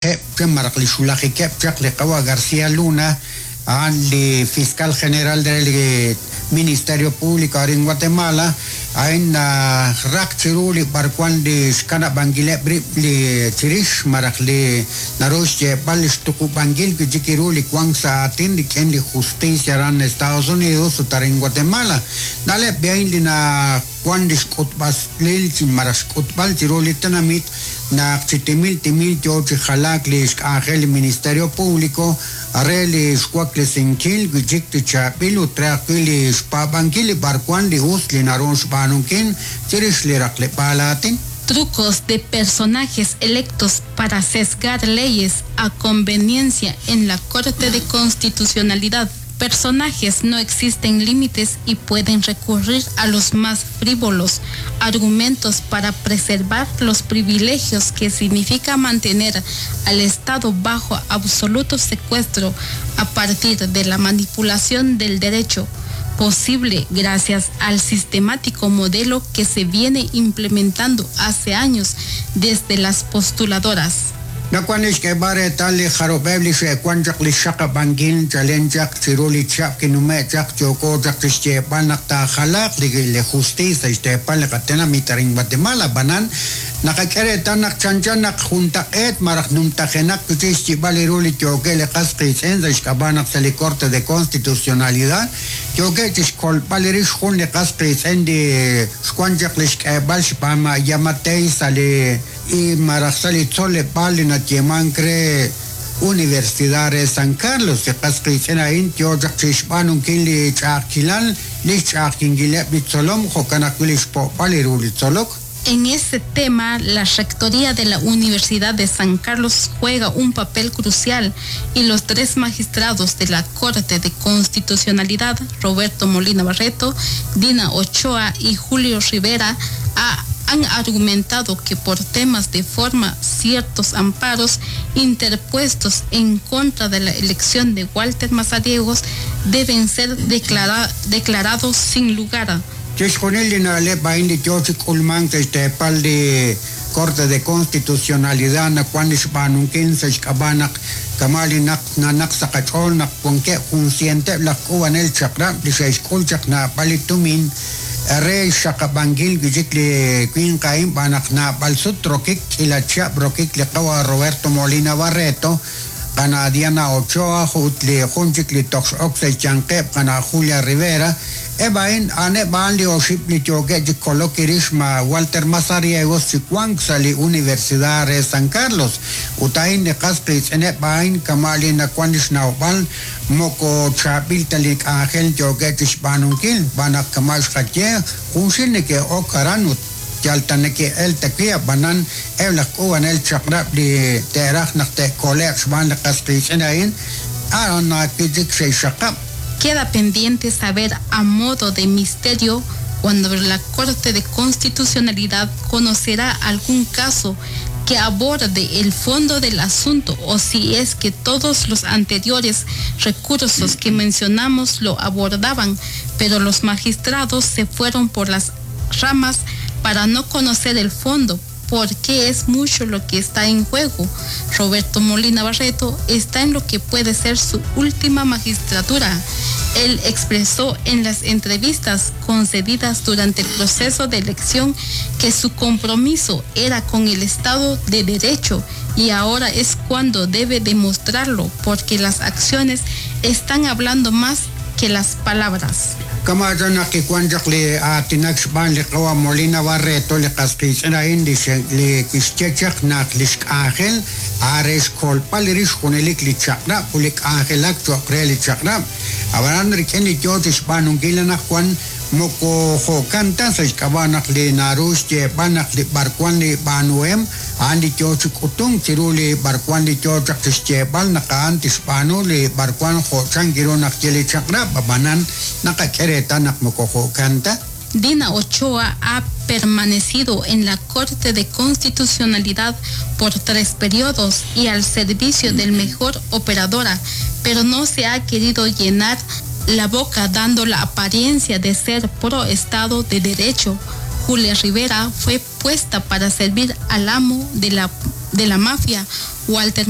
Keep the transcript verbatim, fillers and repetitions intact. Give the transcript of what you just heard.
xwulajeb' maraj li xwulajikeb' chaq li qawa' García Luna a'an li fiscal general del Ministerio Público arin Guatemala a'in raq chiru li b'arwan li xkanab'ankileb' rib' li chirix maraj li naru xyeeb'al li xtuqub'ankil wi'chik ru li wank sa' aatin rik'in li justicia aran Estados Unidos ut arin Guatemala na'leb' a'in li na wan li xk'utb'aslil chi maraj xk'utb'al chiru li tenamit naq chi timil timil yo chi jalaak li xk'anjel li Ministerio Público re li xwaklesinkil wi'chik li chaab'il ut re ajwi' li xpaab'ankil li b'arwan li us li naru xb'aanunkil chirix li raqleb'aal aatin. Trucos de personajes electos para sesgar leyes a conveniencia en la Corte de Constitucionalidad. Personajes no existen límites y pueden recurrir a los más frívolos argumentos para preservar los privilegios que significa mantener al Estado bajo absoluto secuestro a partir de la manipulación del derecho, posible gracias al sistemático modelo que se viene implementando hace años desde las postuladoras. Nakuan xk'eeb'al reetal li jarub'eb' li xe'wan chaq li xaqab'ankil chalen chaq chiru li chab' kinume' chaq yooko chaq chixyeeb'al naq taajalaaq li li justicia xteepal li qatenamit arin Guatemala b'anan naqak'e reetal naq chanchan naq juntaq'eet maraj numtajenaq wi'chik xyib'al ru li yookeb' li qas qiitz'in sa' xk'ab'a' naq sa' li Corte de Constitucionalidad yookeb' chixkolb'al rix jun li qas qiitz'in li xwan chaq li xk'eeb'al xb'aan Yamatei sa' li y maraj sa' li tzoleb'aal li natyeemank re Universidad re San Carlos li qas qiitz'in a'in yo chaq chixb'aanunkil li ch'a'ajkilal li xch'a'ajkinkileb' li tzolom jo'kan ajwi' li xpo'b'al ru li tzolok. En este tema, la Rectoría de la Universidad de San Carlos juega un papel crucial y los tres magistrados de la Corte de Constitucionalidad, Roberto Molina Barreto, Dina Ochoa y Julio Rivera, ha, han argumentado que por temas de forma ciertos amparos interpuestos en contra de la elección de Walter Mazariegos deben ser declara, declarados sin lugar. Chixjunil li na'leb' a'in li yo chi k'ulmank sa' xteepal li Corte de Constitucionalidad nawan li xb'aanunkil sa' xk'ab'a' naq kama' li naq nanaq sa' qach'ool naq wankeb' jun cienteb' laj k'uub'anel chaq'rab' li xe'xk'ul chaq naab'al li tumin re xaqab'ankil wi'chik li winq a'in b'aan naq naab'al sut rokik k'ila chihab' rokik li qawa' Roberto Molina Barreto qana Diana Ochoa ut li jun chik li toj x'ok sa' xyanqeb' qana Julia Rivera eb' a'in a'aneb' a'an li oxib' li yookeb' chi kolok rix ma Walter Mazariegos chi wank sa' li Universidad re San Carlos ut a'in li qas qiitz'ineb' a'in kama' li nawan li xnawb'al moko chaab'il ta li k'anjel yookeb' chi xb'aanunkil b'aan naq kama' xqaye junxil neke'ok aran ut yal ta neke'el ta wi' ab'anan eb' laj k'uub'anel chaq'rab' li te'raj naq te'kole'q xb'aan li qas qiitz'in a'in a'an wi'chik xe'xxaqab'. Queda pendiente saber a modo de misterio cuando la Corte de Constitucionalidad conocerá algún caso que aborde el fondo del asunto o si es que todos los anteriores recursos que mencionamos lo abordaban, pero los magistrados se fueron por las ramas para no conocer el fondo, porque es mucho lo que está en juego. Roberto Molina Barreto está en lo que puede ser su última magistratura. Él expresó en las entrevistas concedidas durante el proceso de elección que su compromiso era con el Estado de Derecho y ahora es cuando debe demostrarlo, porque las acciones están hablando más que las palabras. Kama naq kiwan chaq li aatinak xb'aan li qawa' Molina Barreto li qas qiitz'in a'in li li kixye chaq naq li xk'anjel are xkolb'al rix junelik li chaq'rab' ut li k'anjelak cho'q re li chaq'rab' ab'anan rik'in li yo chi xb'aanunkil anaqwan moko jo'kan ta sa' xk'ab'a' naq li naru xyeeb'al naq li b'arwan li b'aanuhem a'an li yo chi k'utunk chiru li b'arwan li yo chaq chi xyeeb'al naq a'an tixb'aanu li b'arwan jo' chan kiru naq ye li chaq'rab' ab'anan naqak'e reetal naq moko jo'kan ta. Dina Ochoa ha permanecido en la Corte de Constitucionalidad por tres periodos y al servicio del mejor operadora, pero no se ha querido llenar la boca dando la apariencia de ser pro Estado de Derecho. Julia Rivera fue puesta para servir al amo de la, de la mafia, Walter